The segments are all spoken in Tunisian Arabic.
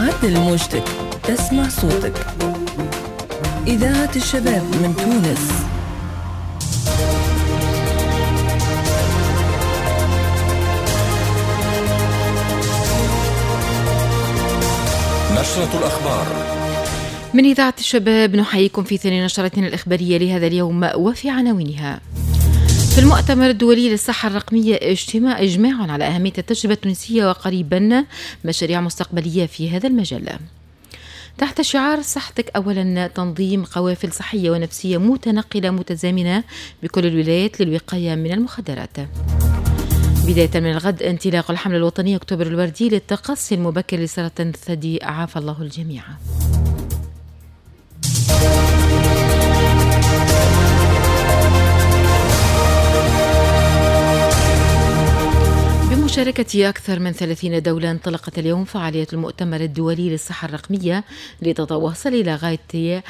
عدل موجتك تسمع صوتك. إذاعة الشباب من تونس. نشرة الأخبار من إذاعة الشباب، نحييكم في ثاني نشرتنا الإخبارية لهذا اليوم وفي عناوينها. في المؤتمر الدولي للصحة الرقمية إجماع على أهمية التجربة التونسية وقريبا مشاريع مستقبلية في هذا المجال. تحت شعار صحتك أولا، تنظيم قوافل صحية ونفسية متنقلة متزامنة بكل الولايات للوقاية من المخدرات. بداية من الغد انطلاق الحملة الوطنية أكتوبر الوردي للتقصي المبكر لسرطان الثدي، عافى الله الجميع. بمشاركة أكثر من 30 دولة انطلقت اليوم فعالية المؤتمر الدولي للصحة الرقمية لتتواصل إلى غاية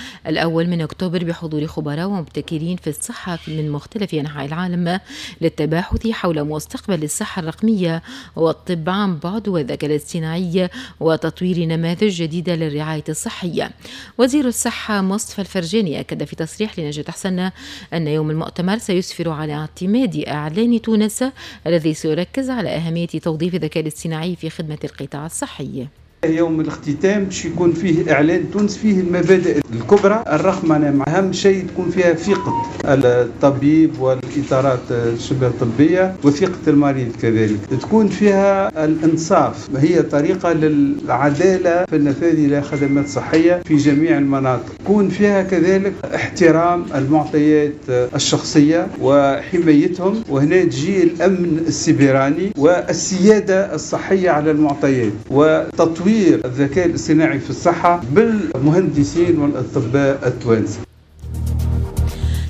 1 أكتوبر بحضور خبراء ومبتكرين في الصحة من مختلف أنحاء العالم للتباحث حول مستقبل الصحة الرقمية والطب عن بعد والذكاء الاصطناعي وتطوير نماذج جديدة للرعاية الصحية. وزير الصحة مصطفى الفرجاني أكد في تصريح لنجاة حسن أن يوم المؤتمر سيسفر على اعتماد إعلان تونس الذي سيركز على أهمية توظيف الذكاء الاصطناعي في خدمة القطاع الصحي. يوم الاختتام باش يكون فيه إعلان تونس فيه المبادئ الكبرى، الرقمنة أهم شيء تكون فيها ثقة الطبيب والإطارات الشبه الطبية وثقة المريض، كذلك تكون فيها الإنصاف، هي طريقة للعدالة في النفاذ إلى خدمات صحية في جميع المناطق، تكون فيها كذلك احترام المعطيات الشخصية وحمايتهم، وهنا تجي الأمن السيبراني والسيادة الصحية على المعطيات وتطوير الذكاء الاصطناعي في الصحة بالمهندسين والأطباء التوانسة.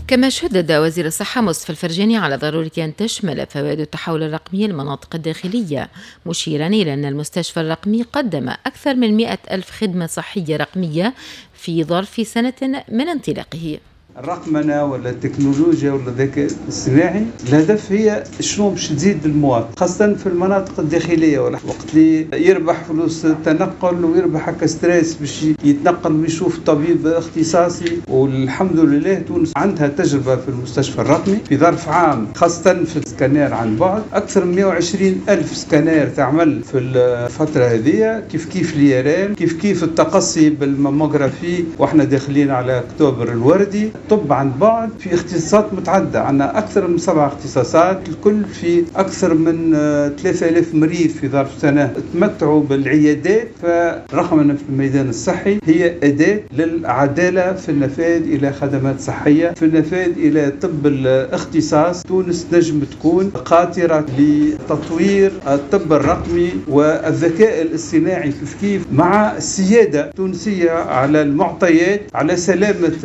كما شدد وزير الصحة مصطفى الفرجاني على ضرورة أن تشمل فوائد التحول الرقمي المناطق الداخلية، مشيرا إلى أن المستشفى الرقمي قدم أكثر من 100,000 خدمة صحية رقمية في ظرف سنة من انطلاقه. الرقمنة ولا التكنولوجيا ولا الذكاء الاصطناعي الهدف هي شنو باش تزيد المواطن، خاصة في المناطق الداخلية، ولا وقت اللي يربح فلوس التنقل ويربح هكا stress باش يتنقل ويشوف طبيب اختصاصي. والحمد لله تونس عندها تجربة في المستشفى الرقمي في ظرف عام، خاصة في السكانير عن بعد، أكثر من 120,000 سكانير تعمل في الفترة هذه، كيف كيف l'IRM، كيف كيف التقصي بال mammographie، واحنا داخلين على أكتوبر الوردي. الطب عن بعد في اختصاصات متعددة، عندنا أكثر من 7 اختصاصات، الكل في أكثر من 3000 مريض في ظرف سنة تمتعوا بالعيادات. فالرقمنة في الميدان الصحي هي أداة للعدالة في النفاذ إلى خدمات صحية، في النفاذ إلى طب الاختصاص. تونس نجم تكون قاطرة لتطوير الطب الرقمي والذكاء الاصطناعي كيف كيف مع السيادة التونسية على المعطيات، على سلامة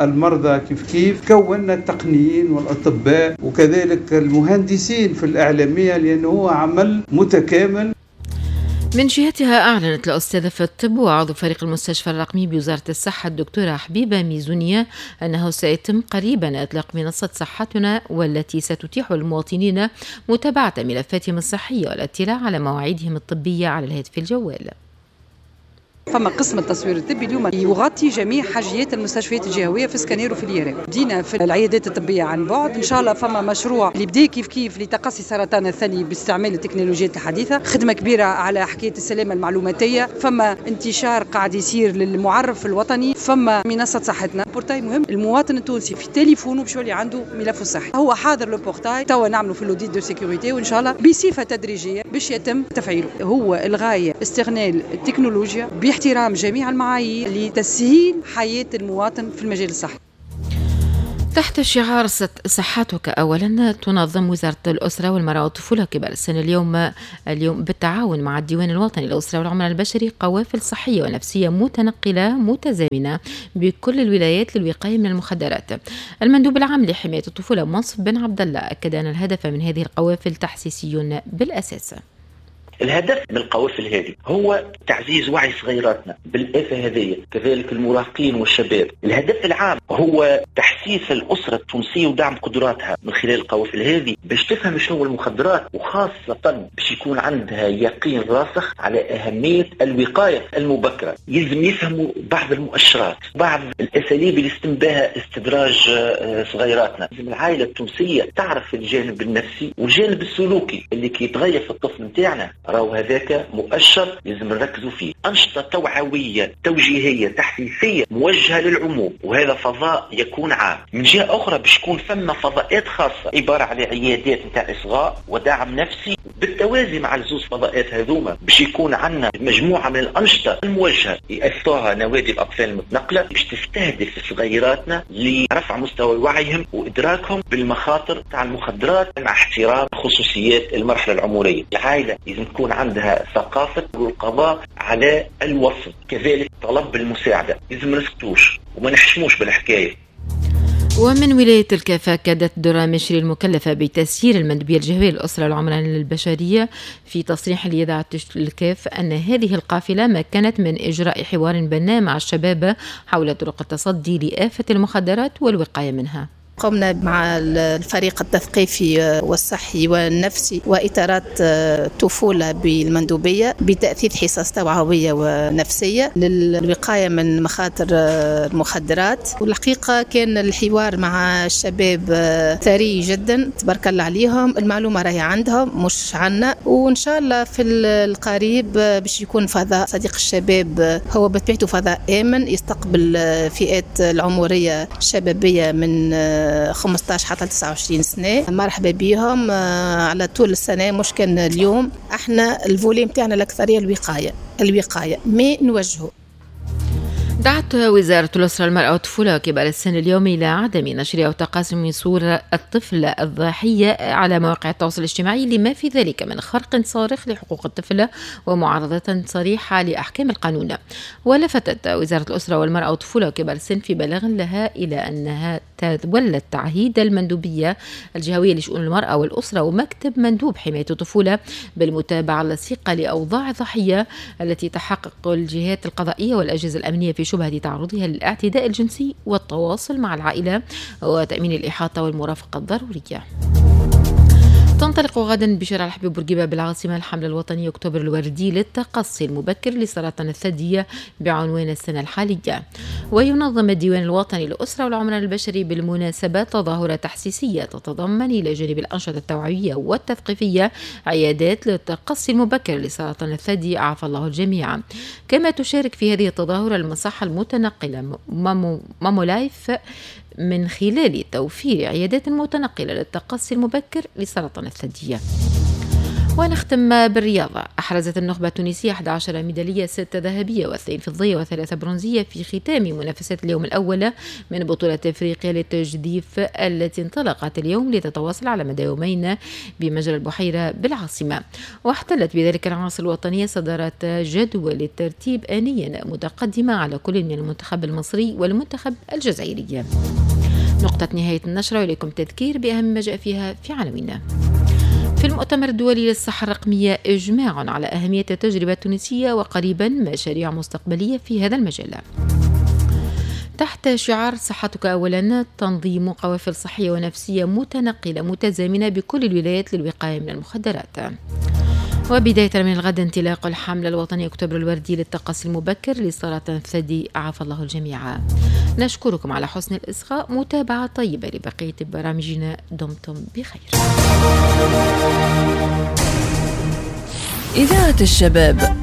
المرضى كيف كيف. كونا التقنيين والأطباء وكذلك المهندسين في الإعلامية لأنه هو عمل متكامل. من جهتها أعلنت الأستاذة في الطب وعضو فريق المستشفى الرقمي بوزارة الصحة الدكتورة حبيبة ميزونية أنه سيتم قريبا إطلاق منصة صحتنا، والتي ستتيح للمواطنين متابعة ملفاتهم الصحية والاطلاع على مواعيدهم الطبية على الهاتف الجوال. فما قسم التصوير الطبي اليوم يغطي جميع حاجيات المستشفيات الجهوية في سكانير وفي l'IRM. بدينا في العيادات الطبية عن بعد، ان شاء الله فما مشروع اللي بدا كيف كيف لتقصي سرطان الثدي باستعمال التكنولوجيات الحديثة، خدمة كبيرة على حكاية السلامة المعلوماتيه، فما انتشار قاعد يصير للمعرف الوطني، فما منصة صحتنا، portail مهم المواطن التونسي في تليفونه باش يولي عنده ملفه الصحي، هو حاضر le portail، توا نعملوا في l'audit de sécurité وان شاء الله بصفة تدريجيه باش يتم تفعيله. هو الغاية استغلال التكنولوجيا باحترام جميع المعايير لتسهيل حياة المواطن في المجال الصحي. تحت شعار صحتك أولا، تنظم وزارة الأسرة والمرأة والطفولة كبار السن اليوم بالتعاون مع الديوان الوطني للأسرة والعمران البشري قوافل صحية ونفسية متنقلة متزامنة بكل الولايات للوقاية من المخدرات. المندوب العام لحماية الطفولة منصف بن عبد الله أكد أن الهدف من هذه القوافل تحسيسي بالأساس. الهدف من القوافل هذه هو تعزيز وعي صغيراتنا بالآفة هذه، كذلك المراهقين والشباب. الهدف العام هو تحسيس الأسرة التونسية ودعم قدراتها من خلال القوافل هذه باش تفهم شنو المخدرات، وخاصة باش يكون عندها يقين راسخ على أهمية الوقاية المبكرة. يلزم يفهموا بعض المؤشرات، بعض الأساليب اللي يتم بها استدراج صغيراتنا. لازم العائلة التونسية تعرف الجانب النفسي والجانب السلوكي اللي كي يتغير في الطفل نتاعنا، راهو هذاك مؤشر لازم نركزوا فيه. أنشطة توعوية توجيهية تحسيسية موجهة للعموم، وهذا فضاء يكون عام. من جهة أخرى باش يكون ثم فضاءات خاصة عبارة على عيادات نتاع إصغاء ودعم نفسي. بالتوازي مع الزوز فضاءات هذوما باش يكون عندنا مجموعة من الأنشطة الموجهة يأثرها نوادي الأطفال المتنقلة باش تستهدف صغيراتنا لرفع مستوى وعيهم وإدراكهم بالمخاطر تاع المخدرات مع احترام خصوصيات المرحلة العمرية. العائلة لازم تكون عندها ثقافة القضاء على الوصف، كذلك طلب المساعدة، لازم ما نسكتوش وما نحشموش بالحكاية. ومن ولاية الكاف أكدت درة مشري المكلفة بتسيير المندوبية الجهوية للأسرة العمرانية للبشرية في تصريح لإذاعة الكاف أن هذه القافلة مكنت من إجراء حوار بناء مع الشباب حول طرق التصدي لآفة المخدرات والوقاية منها. قمنا مع الفريق التثقيفي والصحي والنفسي وإطارات الطفولة بالمندوبية بتأثيث حصص توعوية ونفسية للوقاية من مخاطر المخدرات. والحقيقة كان الحوار مع الشباب ثري جدا، تبارك الله عليهم، المعلومة راهي عندهم مش عنا. وإن شاء الله في القريب باش يكون فضاء صديق الشباب هو بطبيعته فضاء آمن يستقبل فئات العمرية الشبابية من 15 حتى 29 سنة. مرحبا بهم على طول السنة، مش كان اليوم. احنا الفولي متاعنا الأكثرية الوقاية ما نوجهه. دعت وزارة الأسرة المرأة والطفولة وكبار السن اليوم إلى عدم نشر أو تقاسم صورة الطفل الضحية على مواقع التواصل الاجتماعي لما في ذلك من خرق صارخ لحقوق الطفل ومعارضة صريحة لأحكام القانون. ولفتت وزارة الأسرة والمرأة والطفولة وكبار السن في بلاغ لها إلى أنها تولت تعهيد المندوبية الجهوية لشؤون المرأة والأسرة ومكتب مندوب حماية الطفولة بالمتابعة اللصيقة لأوضاع الضحية التي تحقق الجهات القضائية والأجهزة الأمنية في شبهة تعرضها للاعتداء الجنسي والتواصل مع العائلة وتأمين الإحاطة والمرافقة الضرورية. تنطلق غدا بشارع الحبيب بورقيبة بالعاصمة الحملة الوطنية أكتوبر الوردي للتقصي المبكر لسرطان الثدي بعنوان السنة الحالية. وينظم الديوان الوطني للأسرة والعمران البشري بالمناسبة تظاهرة تحسيسية تتضمن إلى جانب الأنشطة التوعوية والتثقيفية عيادات للتقصي المبكر لسرطان الثدي عافى الله الجميع. كما تشارك في هذه التظاهرة المصحة المتنقلة مامولايف من خلال توفير عيادات متنقلة للتقصي المبكر لسرطان الثدي. ونختم بالرياضة. أحرزت النخبة التونسية 11 ميدالية، 6 ذهبية و2 فضية و3 برونزية في ختام منافسات اليوم الأول من بطولة أفريقيا للتجديف التي انطلقت اليوم لتتواصل على مدى يومين بمجرى البحيرة بالعاصمة. واحتلت بذلك العناصر الوطنية صدارة جدول الترتيب آنيا متقدمة على كل من المنتخب المصري والمنتخب الجزائري. نقطة نهاية النشرة، وإليكم تذكير بأهم ما جاء فيها في عناويننا. في المؤتمر الدولي للصحة الرقمية إجماع على أهمية التجربة التونسية وقريبا مشاريع مستقبلية في هذا المجال. تحت شعار صحتك أولا، تنظيم قوافل صحية ونفسية متنقلة متزامنة بكل الولايات للوقاية من المخدرات. وبداية من الغد انطلاق الحملة الوطنية أكتوبر الوردي للتقصي المبكر لسرطان الثدي عافى الله الجميع. نشكركم على حسن الإصغاء، متابعة طيبة لبقية برامجنا، دمتم بخير. إذاعة الشباب،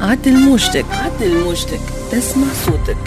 عدل موجتك، عدل موجتك، تسمع صوتك.